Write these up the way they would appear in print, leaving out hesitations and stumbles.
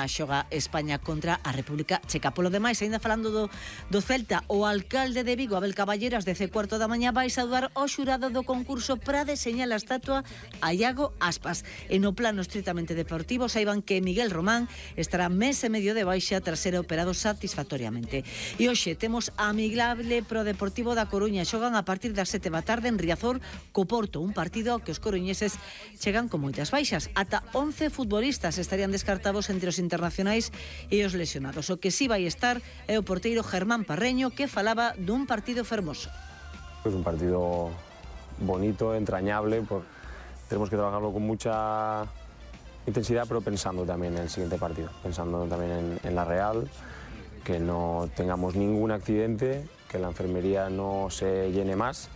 Xoga España contra a República Checa. Polo demais, ainda falando do Celta, o alcalde de Vigo, Abel Caballeras, 10:15 da mañá, vai saudar o xurado do concurso para deseñar a estatua a Iago Aspas. E no plano estritamente deportivo, saiban que Miguel Román estará mes e medio de baixa tras ser operado satisfactoriamente. E hoxe temos amigable pro Deportivo da Coruña. Xogan a partir das 7 da tarde en Riazor co Porto, un partido que os coruñeses chegan con moitas baixas. Ata 11 futbolistas estarían descartados entre os internacionais e os lesionados. O que sí vai estar é o porteiro Germán Parreño, que falaba dun partido fermoso. Es un partido bonito, entrañable, tenemos que trabajarlo con mucha intensidad, pero pensando también en el siguiente partido, pensando también en la Real, que no tengamos ningún accidente, que la enfermería no se llene más.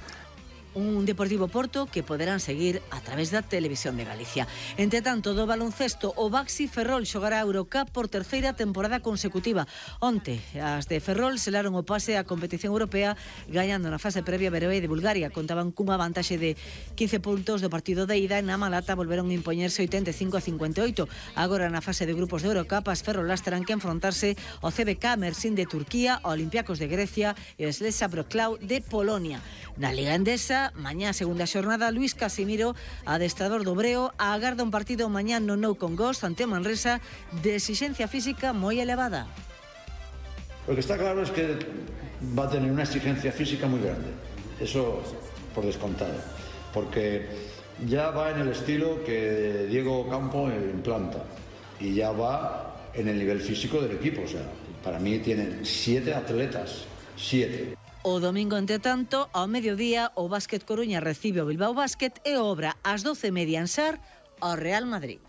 Un Deportivo Porto que poderán seguir a través da Televisión de Galicia. Entre tanto, do baloncesto, o Baxi Ferrol xogará a Eurocup por terceira temporada consecutiva. Onte, as de Ferrol selaron o pase á competición europea gañando na fase previa Beroe de Bulgaria. Contaban cunha vantaxe de 15 puntos do partido de ida e na Malata volveron a impoñerse 85-58. Agora na fase de grupos de Eurocup, as ferrolas terán que enfrontarse ao CBK Mersin de Turquía, ao Olympiacos de Grecia e o Slesa Wrocław de Polonia. Na Liga Endesa, mañá segunda xornada, Luis Casimiro, adestrador do Breo, agarda un partido mañá no Nou Congós ante Manresa de exigencia física moi elevada. Lo que está claro es que va a tener una exigencia física muy grande, eso por descontado, porque ya va en el estilo que Diego Campo implanta y ya va en el nivel físico del equipo. O sea, para mí tienen 7 atletas, 7. O domingo, entre tanto, ao mediodía, o Básquet Coruña recibe o Bilbao Básquet e obra ás 12:30 en Sar ao Real Madrid.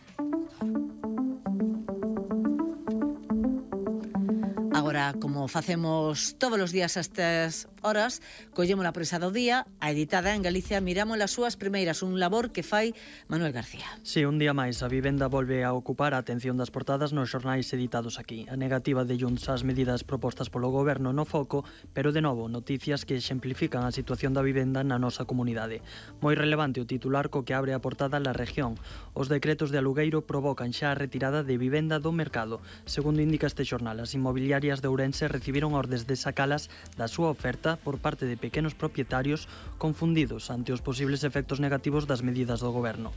Agora, como facemos todos os días a estas horas, collemos a prensa do día, a editada en Galicia, miramos as súas primeiras, un labor que fai Manuel García. Si, un día máis, a vivenda volve a ocupar a atención das portadas nos xornais editados aquí. A negativa de Junts ás medidas propostas polo goberno no foco, pero de novo, noticias que exemplifican a situación da vivenda na nosa comunidade. Moi relevante o titular co que abre a portada La Región. Os decretos de alugueiro provocan xa a retirada de vivenda do mercado. Segundo indica este xornal, as inmobiliarias de Ourense recibiron ordes de sacalas da súa oferta por parte de pequenos propietarios confundidos ante os posibles efectos negativos das medidas do goberno.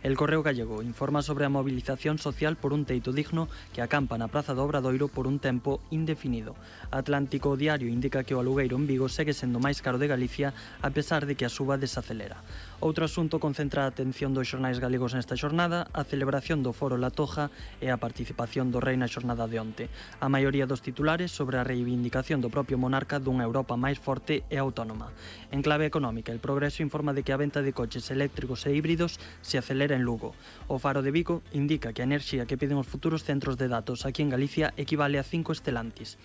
El Correo Gallego informa sobre a movilización social por un teito digno que acampa na Praza do Obradoiro por un tempo indefinido. Atlántico Diario indica que o alugueiro en Vigo segue sendo máis caro de Galicia a pesar de que a suba desacelera. Outro asunto concentra a atención dos xornais galegos nesta xornada, a celebración do Foro La Toja e a participación do Rei na xornada de onte. A maioría dos titulares sobre a reivindicación do propio monarca dunha Europa máis forte e autónoma. En clave económica, El Progreso informa de que a venta de coches eléctricos e híbridos se acelera en Lugo. O Faro de Vigo indica que a enerxía que piden os futuros centros de datos aquí en Galicia equivale a 5 Stellantis.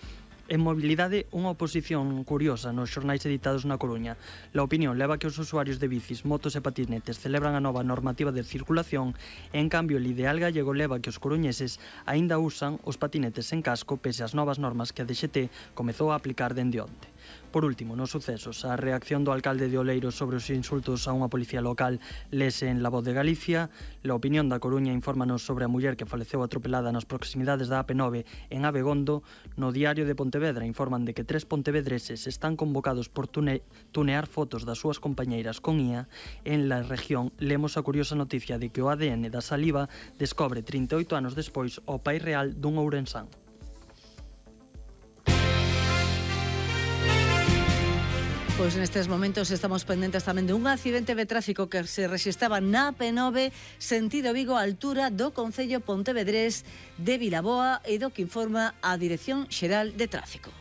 En mobilidade, unha oposición curiosa nos xornais editados na Coruña. La Opinión leva que os usuarios de bicis, motos e patinetes celebran a nova normativa de circulación e, en cambio, el Ideal Gallego leva que os coruñeses aínda usan os patinetes en casco pese ás novas normas que a DXT comezou a aplicar dende onte. Por último, nos sucesos, a reacción do alcalde de Oleiros sobre os insultos a unha policía local lese en La Voz de Galicia. La Opinión da Coruña infórmanos sobre a muller que faleceu atropelada nas proximidades da AP9 en Abegondo. No Diario de Pontevedra informan de que 3 pontevedreses están convocados por tunear fotos das súas compañeiras con IA. En La Región lemos a curiosa noticia de que o ADN da saliva descobre 38 anos despois o pai real dun ourensán. Pois nestes momentos estamos pendentes tamén de un accidente de tráfico que se rexistraba na AP9 sentido Vigo á altura do concello pontevedrés de Vilaboa e do que informa a Dirección Xeral de Tráfico.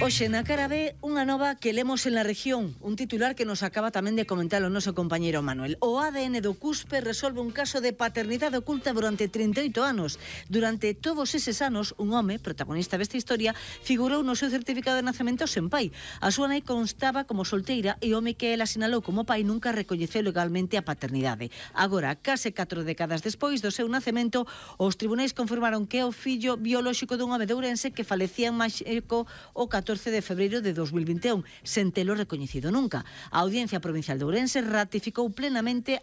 Hoxe na cara B, unha nova que lemos en La Región, un titular que nos acaba tamén de comentar o noso compañeiro Manuel. O ADN do CUSPE resolve un caso de paternidade oculta durante 38 anos. Durante todos eses anos, un home, protagonista desta historia, figurou no seu certificado de nacemento sen pai. A súa nai constaba como solteira e o home que ela sinalou como pai nunca recoñeceu legalmente a paternidade. Agora, case 4 décadas despois do seu nacemento, os tribunais confirmaron que é o fillo biolóxico dun home de Ourense que falecía en Máxico o 14 de febreiro de 2021, sen telo recoñecido nunca. A Audiencia Provincial de Ourense ratificou plenamente a